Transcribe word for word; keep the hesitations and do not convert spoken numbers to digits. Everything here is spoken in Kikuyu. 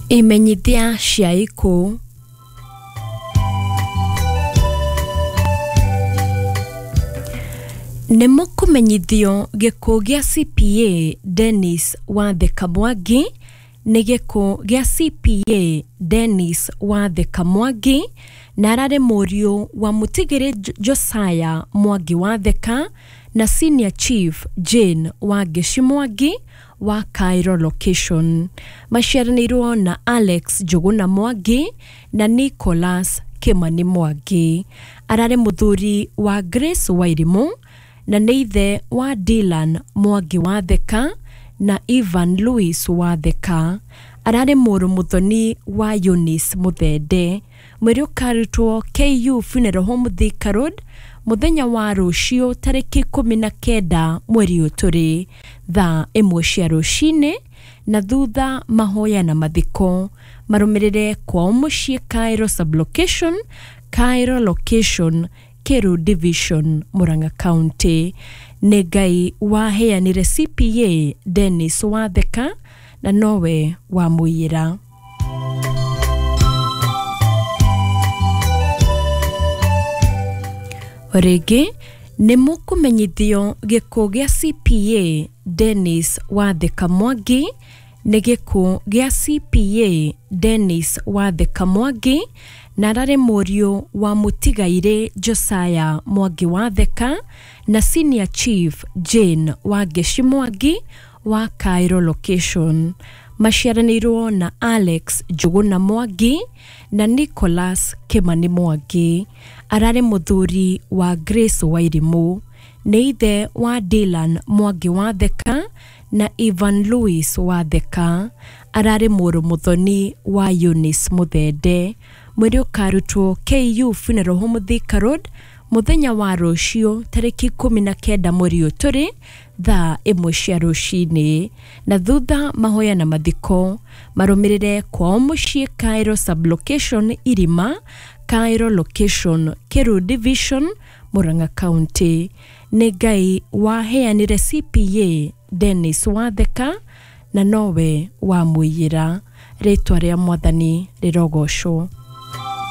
Imenyithia cia ikuũ. Nĩ mũkũmenyithio gĩkuũ gĩa C P A Dennis Watheka Mwangi nĩ gĩkuũ gĩa C P A Dennis Watheka Mwangi na ararĩ mũriũ wa mũtigĩrĩ Josiah Mwangi Watheka na Senior Chief Jane Wangeci Mwangi wa Cairo Location. Maciaranĩirwo na Alex Njũgũna Mwangi na Nicholas Kimani Mwangi. Ararĩ mũthuri wa Grace Wairimũ na nĩ ithe wa Dylan Mwangi Watheka na Ivan Louis Watheka. Ararĩ mũrũ mũthoni wa Eunice Muthende. Mwĩrĩ ũkarutwo K U Funeral Home Thika Road mũthenya wa rũciũ tarĩki ikũmi na kenda mweri ũyũ tũrĩ thaa ĩmwe cia rũcinĩ, na thutha mahoya na mathiko marũmĩrĩre kwao mũciĩ Cairo Sublocation, Cairo Location, Kiru Division, Murang'a County. Nĩ Ngai waheanire C P A Dennis Watheka na nowe wamũiyĩra. Rĩngĩ nĩ mũkũmenyithio gĩkuũ gĩa C P A Dennis Watheka Mwangi nĩ gĩkuũ gĩa C P A Dennis Watheka Mwangi na ararĩ mũriũ wa mũtigairĩ Josiah Mwangi Watheka na Senior Chief Jane Wangeci Mwangi wa Cairo Location. Maciaranĩirwo na Alex Njũgũna Mwangi na Nicholas Kimani Mwangi. Ararĩ mũthuri wa Grace Wairimũ. Nĩ ithe wa Dylan Mwangi Watheka na Ivan Louis Watheka. Ararĩ mũrũ mũthoni wa Eunice Muthende. Mwĩrĩ ũkarutwo K U Funeral Home Thika Road mũthenya wa rũciũ tarĩki ikũmi na kenda mweri ũyũ tũrĩ thaa ĩmwe cia rũcinĩ, na thutha mahoya na mathiko marũmĩrĩre kwao mũciĩ Cairo Sublocation Irima, Cairo Location, Kiru Division, Murang'a County. Nĩ Ngai waheanire C P A Dennis Watheka na nowe wamũiyĩra. Rĩtwa rĩa Mwathani rĩrogocwo.